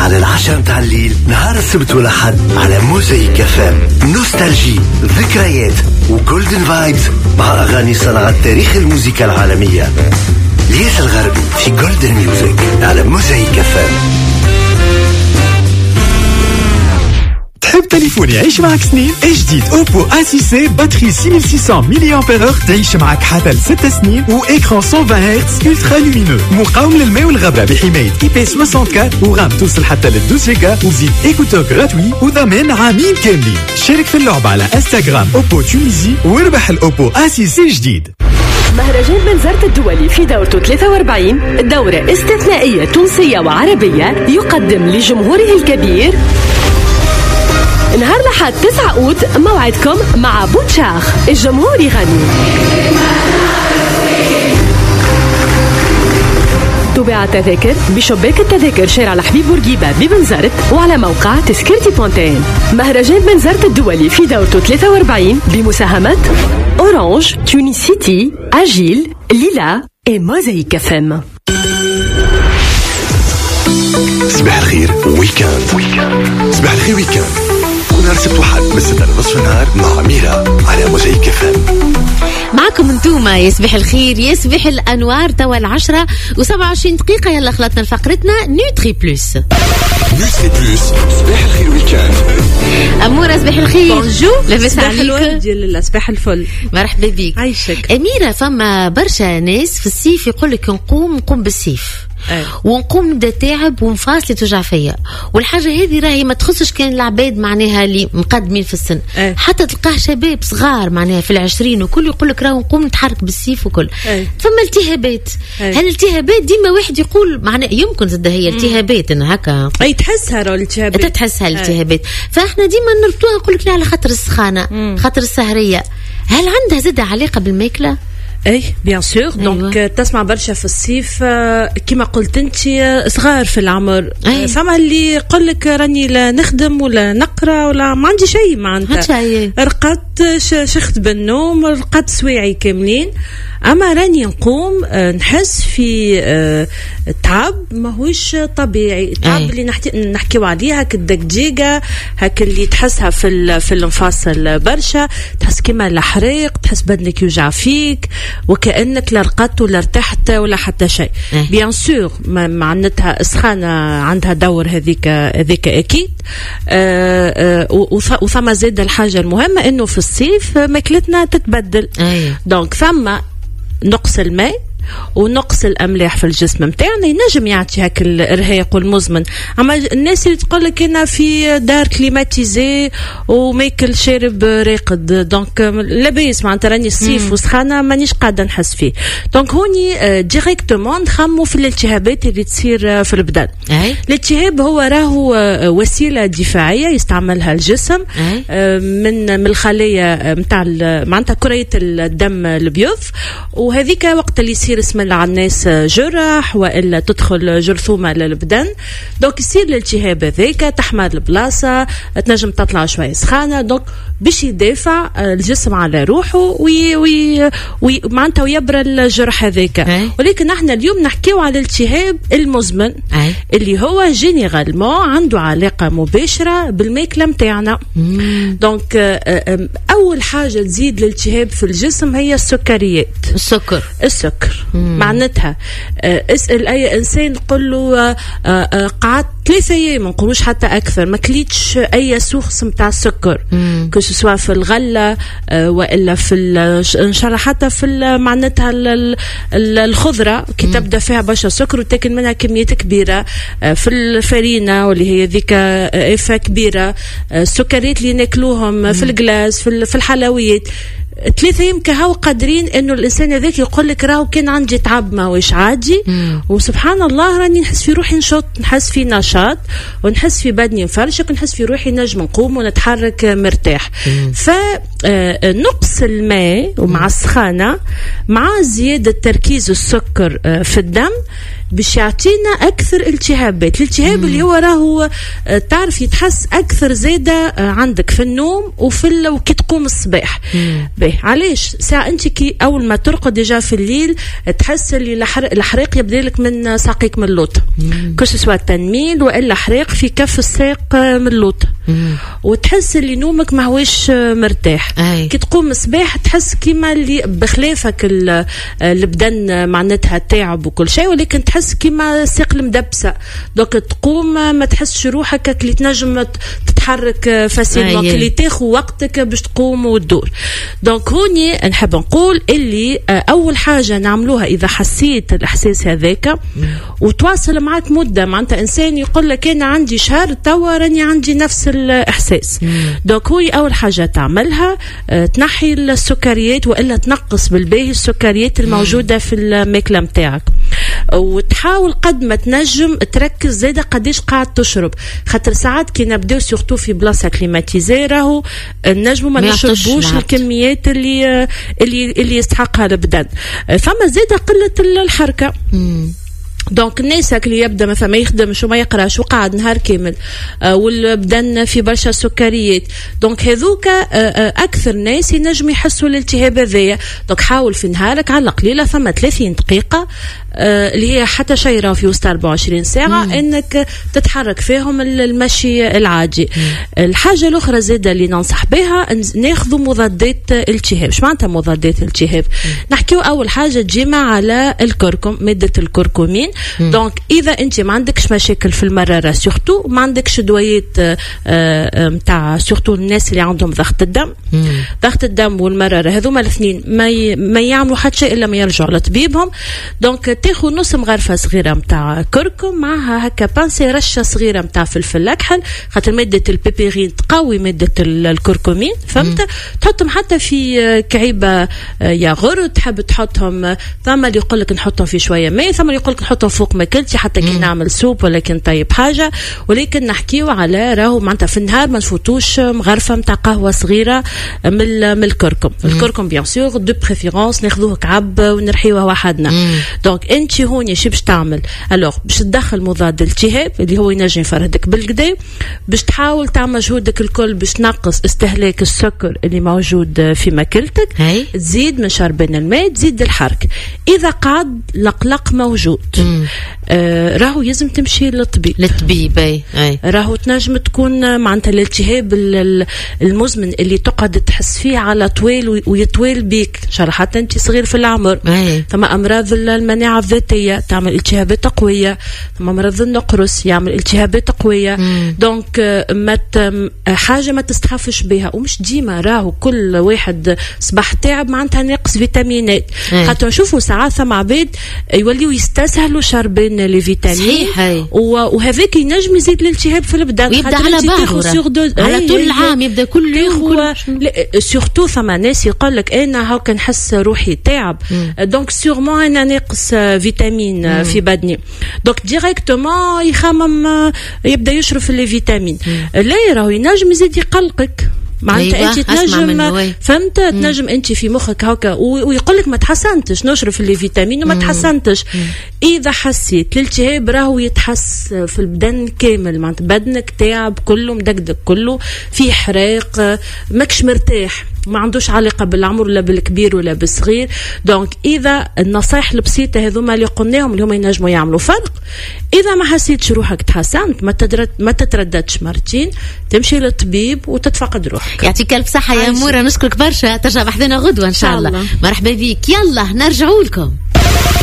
على 10 متاع الليل نهار السبت والأحد على موزايك FM. nostalgie، ذكريات و golden vibes مع أغاني صنعت تاريخ الموسيقى العالمية. الياس الغربي في Golden Music على موزايك FM. تحب تليفون يعيش معك سنين؟ جديد Oppo A6c، batterie 6600 milliampère-heure تعيش معك حتى ل6 سنين، و écran 120 hertz ultra lumineux، مقاوم للماء والغبره بحمايه IP 64، و RAM توصل حتى ل 12 جيجا، وزيد écouteurs gratuits وضمان عامين كاملين. شارك في اللعبة على انستغرام Oppo Tunisie واربح ال Oppo A6c جديد. مهرجان بنزرت الدولي في دورته 43، دورة استثنائية تونسية وعربية، يقدم لجمهوره الكبير نهار لحد 9 أوت موعدكم مع بوتشاخ، الجمهور يغني. تباع التذاكر بشباك التذاكر شارع الحبيب بورقيبة ببنزرت وعلى موقع تذكرتي بونتين. مهرجان بنزرت الدولي في دورته 43 بمساهمة Orange، Tunicity، Agile، ليلا et Mosaïque FM. صباح الخير week-end. صباح الخير week-end نهار السبت وحد من 6 لنصف النهار مع ميرا على موزايك FM. معكم انتوما يا صباح الخير يا صباح الانوار، توا 10:27. يلا خلطنا لفقرتنا Nutri Plus. Nutri Plus صباح الخير week-end. اموره صباح الخير. bonjour، لاباس عليك؟ صباح الورد يا صباح الفل. مرحبا بك. عايشك اميره. فما برشا ناس في الصيف يقول لك نقوم بالسيف ونقوم نبدا تعب ومفاصلي توجع فيا، والحاجة هذه راهي ما تخصش كان العباد معناها اللي مقدمين في السن، حتى تلقاه شباب صغار معناها في 20 وكل يقول لك راهو نقوم نتحرك بالسيف وكل. فما التهابات. هالالتهابات ديما واحد يقول معناها يمكن زاد هي التهابات ان هكا اي تحسها راه الالتهابات، تحسها الالتهابات، فاحنا ديما نربطوها نقول لك لا على خاطر السخانه، خاطر السهريه. هل عندها زاد علاقة بالماكله؟ اي bien sûr. donc تسمع برشا في الصيف كما قلت انت صغار في العمر. فما اللي يقول لك راني لا نخدم ولا نقرا ولا ما عندي شيء، معناتها رقدت شخت بالنوم، رقدت سواعي كاملين، اما راني نقوم نحس في تعب ماهوش طبيعي. التعب اللي نحكيو عليه هاك الدقديقه، هاك اللي تحسها في المفاصل برشا، تحس كيما الحريق، تحس بدنك يوجع فيك وكانك لا رقدت ولا ارتحت ولا حتى شيء. bien sûr معناتها السخانه عندها دور، هذيك اكيد. وثم زاد الحاجة المهمة انه في الصيف ماكلتنا تتبدل. donc ثم نقص الماء ونقص الاملاح في الجسم نتاعنا ينجم يعطي هاك الارهاق والمزمن. اما الناس اللي تقول لك انا في دار climatisée وماكل شارب راقد، donc لاباس معناتها راني الصيف وسخانه مانيش قاعدة نحس فيه. donc هوني directement نخمو في الالتهابات اللي تصير في البدن. الالتهاب هو راهو وسيلة دفاعية يستعملها الجسم من الخلايا نتاع معناتها كريه الدم الابيض، وهذيك وقت اللي يصير اسم الله على الناس جرح والا تدخل جرثومة للبدن، donc يصير الالتهاب هذاك، تحمر البلاصة، تنجم تطلع شوية سخانه، donc باش يدافع الجسم على روحه وي معناتها ويبرى الجرح هذاك. ولكن احنا اليوم نحكيو على الالتهاب المزمن اللي هو généralement عنده علاقة مباشرة بالماكله نتاعنا. donc اول حاجة تزيد الالتهاب في الجسم هي السكريات. السكر معناتها اسأل أي إنسان قل له قعدت 3 أيام ما نقولوش حتى أكثر ما كليتش أي source متاع السكر، que ce soit في الغلة وإلا في إن شاء الله حتى في معناتها الخضرة كي تبدأ فيها برشا سكر وتاكل منها كميات كبيرة، في الفرينة واللي هي ذيك إفة كبيرة، السكريات اللي ناكلوهم في ال glace في الحلويات. 3 أيام كهو قادرين انه الانسان هذاك يقول لك راهو كان عندي تعب ماهوش عادي، وسبحان الله راني نحس في روحي نشط، نحس في نشاط، ونحس في بدني مفرشك، ونحس في روحي نجم نقوم ونتحرك مرتاح. فنقص الماء ومع السخانه مع زيادة تركيز السكر في الدم باش يعطينا اكثر التهابات. الالتهاب اللي هو راهو تعرف يتحس اكثر زاده عندك في النوم وكي تقوم الصباح. باهي علاش؟ ساعة انت كي اول ما ترقد déjà في الليل تحس اللي الحريق يبدا لك من ساقيك من اللوط، que ce soit تنميل والا حريق في كف الساق من اللوط، وتحس اللي نومك ما هوش مرتاح. كي تقوم الصباح تحس كيما اللي بخلافك البدن معناتها تعب وكل شيء، ولكن تحس كيما الساق المدبسه. donc تقوم ما تحسش روحك اللي تنجم تتحرك facilement، اللي تاخذ وقتك باش تقوم وتدور. donc هوني نحب نقول اللي اول حاجة نعملوها اذا حسيت الاحساس هذاك وتواصل معك مده، معناتها انسان يقول لك انا عندي شهر توا راني عندي نفس الاحساس. donc هو اول حاجة تعملها تنحي السكريات والا تنقص بالباهي السكريات الموجودة في الماكلة نتاعك، وتحاول قد ما تنجم تركز زاده قداش قاعد تشرب، خاطر ساعات كي نبداو surtout في بلاصة climatisée راهو نجمو ما نشربوش الكميات اللي يستحقها البدن. فما زاده قلة الحركة. donc الناس اللي يبدا مثلا ما يخدمش وما يقراش وقاعد نهار كامل والبدن في برشا سكريات، donc هذوك اكثر ناس ينجم يحسوا الالتهاب هذايا. donc حاول في نهارك على القليلة ثم 30 دقيقة اللي هي حتى شيء في وسط 24 ساعة انك تتحرك فيهم المشي العادي. الحاجة الاخرى زاده اللي ننصح بها ناخذوا مضادات التهاب. اش معناتها مضادات التهاب؟ نحكيو اول حاجة ديما على الكركم، مادة الكركمين. donc اذا انت ما عندكش مشاكل في المرارة surtout ما عندكش دويات نتاع surtout الناس اللي عندهم ضغط الدم. ضغط الدم والمراره هذوما الاثنين ما يعملوا حتى شيء الا ما يرجعوا لطبيبهم. donc تاخذ نص مغرفه صغيرة نتاع كركم معها هكا pincée رشه صغيرة نتاع فلفل اكحل، خاطر مادة البيبيرين تقوي مادة الكركمين، فهمت؟ تحطهم حتى في كعيبه ياغورت، تحب تحطهم، ثم اللي يقول لك نحطهم في شوية ماء، ثم اللي يقول لك نحطهم فوق ماكلتي حتى كي نعمل soupe ولا كي نطيب حاجة. ولكن نحكيو على راهو معناتها في النهار ما نفوتوش مغرفه نتاع قهوة صغيرة من الكركم. الكركم bien sûr de préférence ناخذوه كعب ونرحيوه وحدنا. donc انت هوني شو باش تعمل؟ alors باش تدخل مضاد التهاب اللي هو ينجم يفرهدك بالقدا، باش تحاول تعمل مجهودك الكل باش تنقص استهلاك السكر اللي موجود في ماكلتك، تزيد من شربان الماء، تزيد الحركة. اذا قعد القلق موجود راهو لازم تمشي للطبيب. للطبيب اي. راهو تنجم تكون معناتها الالتهاب المزمن اللي تقعد تحس فيه على طويل ويطويل بيك، ان شاء الله حتى انت صغير في العمر. ثم امراض المناعة الذاتية تعمل التهابات قوية، ثم مرض النقرس يعمل التهابات قوية. donc ما حاجة ما تستخفش بها، ومش ديما راهو كل واحد صباح تعب معناتها ناقص فيتامينات. خاطر نشوفوا ساعات ثم عباد يوليو يستسهلوا شربين les vitamines، وهذاك ينجم يزيد الالتهاب في البدن، ويبدا على بعضه على طول العام، يبدا كل يوم. surtout ثم ناس يقول لك انا هاكا نحس روحي تعب، donc sûrement انا ناقص فيتامين في بدني، donc directement يخمم يبدا يشرب في les vitamines. لا راهو ينجم يزيد يقلقك، معناتها أيوة. انت تنجم، فهمت؟ تنجم انت في مخك هكا ويقول لك ما تحسنتش، نشرب في les vitamines وما تحسنتش. اذا حسيت الالتهاب راهو يتحس في البدن كامل، معناتها بدنك تعب كله، مدقدق كله، في حراق، ماكش مرتاح، ما عندوش علاقة بالعمر ولا بالكبير ولا بالصغير. donc اذا النصائح البسيطة هذوما اللي قلناهم اللي هما ينجموا يعملوا فرق. اذا ما حسيتش روحك تحسنت ما تترددش مرتين، تمشي للطبيب وتتفقد روحك. يعطيك الف صحة يا مورا، نشكرك برشا، ترجع بحذنا غدوه ان شاء الله. مرحبا بك. يلا نرجعوا لكم.